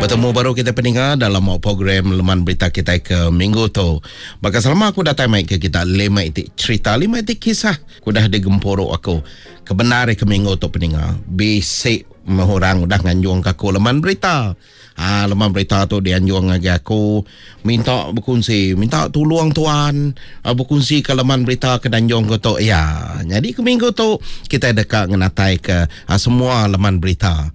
Betemu baru kita peninga dalam program Leman Berita kita ke minggu tu. Baka selama aku datai mai ke kita lima iti cerita, lima iti kisah ku dah digempuru aku. Kebenar ke minggu tu peninga, bisi orang udah nganjung ke aku leman berita. Ha, leman berita tu dianjung ngagai aku minta bekunsi, minta tulung tuan ah, bekunsi ke leman berita ke danjung ke tu. Ya, jadi ke minggu tu kita deka ngenatai ke ah, semua leman berita.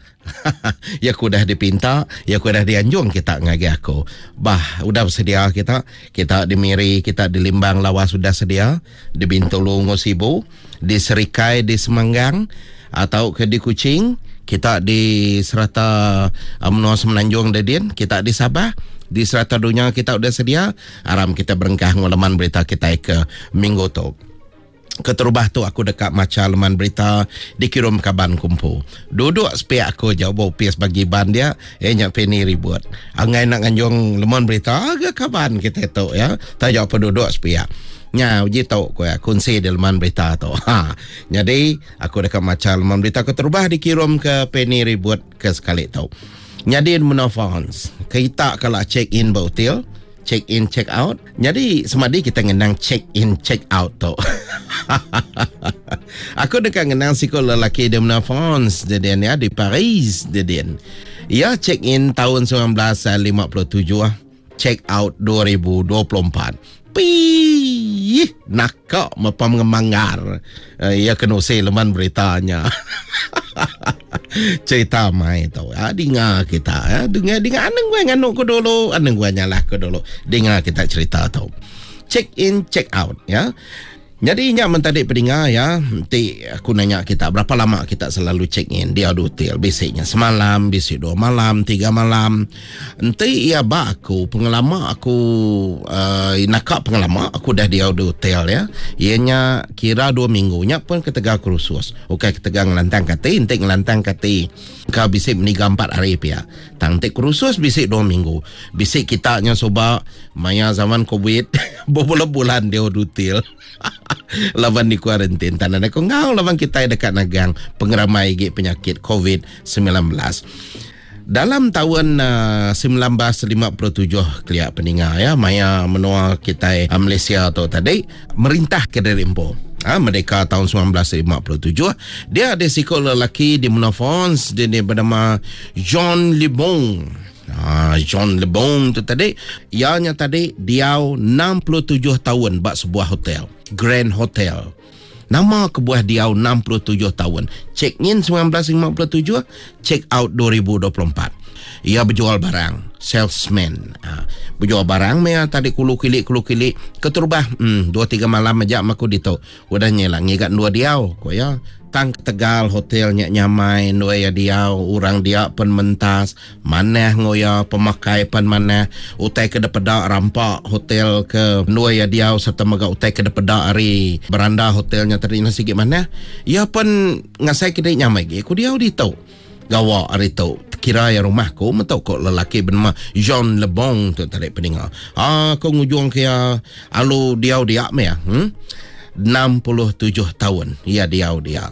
ya aku dah dipinta, ya aku dah dianjung kita ngagai aku. Bah, udah bersedia kita, kita di Miri, kita di Limbang Lawas sudah sedia, di Bintulu ngau Sibu, di Serikai di Semanggang atau ke di Kuching, kita di serata uh, menua Semenanjung Dedin, kita di Sabah, di serata dunia kita udah sedia, aram kita berengkah ngulaman berita kita ke minggu tu. Keterubah tu aku deka macha leman berita dikirum kaban kumpu. Duduk sepiak aku jauh bau pis bagi ban dia, eh nya Penny ribut. Angai nak nganjung leman berita aga kaban kita tu ya. Tak jauh penduduk sepiak. Nya uji tu ku ya kunsi di leman berita tu. Ha. Jadi aku deka macha leman berita keterubah dikirum ke Penny Ribut ke sekali tu. Nyadi menua France, kita kalau check in ba hotel, check in check out. Jadi semadi kita ngenang check in check out tu. Aku deka ngenang siku lelaki di menua France, dia ya di Paris dia dia. Ia check in tahun 1957, check out 2024. Pi naka mepam ngemanggar. Uh, ia kena usai leman beritanya. Cerita mai tu. Ah, dengar kita. Ya. Dengar, dengar. Anang gue nganuk ku dulu. Anang gue nyalah ku dulu. Dengar kita cerita tu. Check in, check out. Ya. Jadi nya men tadi peninga ya, enti aku nanya kita berapa lama kita selalu check in di hotel bisiknya semalam, bisik dua malam, tiga malam. Enti iya ba aku pengelama aku uh, naka pengelama aku dah di hotel ya. Iya nya kira dua minggu nya pun ketegal kursus. Ukai ketegal ngelantang kati, enti ngelantang kati ka bisi meniga empat hari pia. Tang enti kursus bisi dua minggu. Bisi kita nya suba maya zaman covid bebulan-bulan di hotel. Laban di kuarantin tan ada ko ngau laban kita dekat nagang pengeramai gi penyakit COVID-19. Dalam tahun uh, 1957 kelia peninga ya maya menua kita uh, Malaysia tu tadi merintah ke dari empu. Ha, merdeka tahun 1957 dia ada sikul lelaki di menua France dia, dia bernama Jean Lebon. Ha, Jean Lebon tu tadi ianya tadi diau 67 tahun bak sebuah hotel, Grand Hotel. Nama kebuah diau 67 tahun. Check in 1957, check out 2024. Ia berjual barang, salesman. Ha, berjual barang meh tadi kulu kilik kulu kilik keterubah dua tiga malam aja aku ditu. Udah nya lah ngiga dua diau ko ya. Tang Tegal hotelnya nyamai dua ya diau orang dia pen mentas manah ngoya pemakai pen manah utai ke depeda rampak hotel ke dua ya diau serta mega utai ke depeda ari beranda hotelnya tadi nasi gik manah ya pen ngasai ke nyamai gi ku diau ditu gawa ari tu kira ya rumah ku mentok ko lelaki bernama Jean Lebon tu tadi peninga ah ko ngujung ke ya alu diau dia me ya 67 tahun ia diau dia.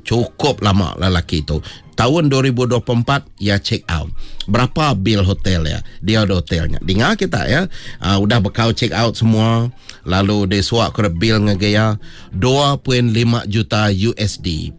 Cukup lama lelaki tu. Tahun 2024 ia check out. Berapa bil hotel ya? Dia ada hotelnya. Dengar kita ya. Udah bekau check out semua. Lalu dia suak ke bil ngagai ya 2.5 juta USD.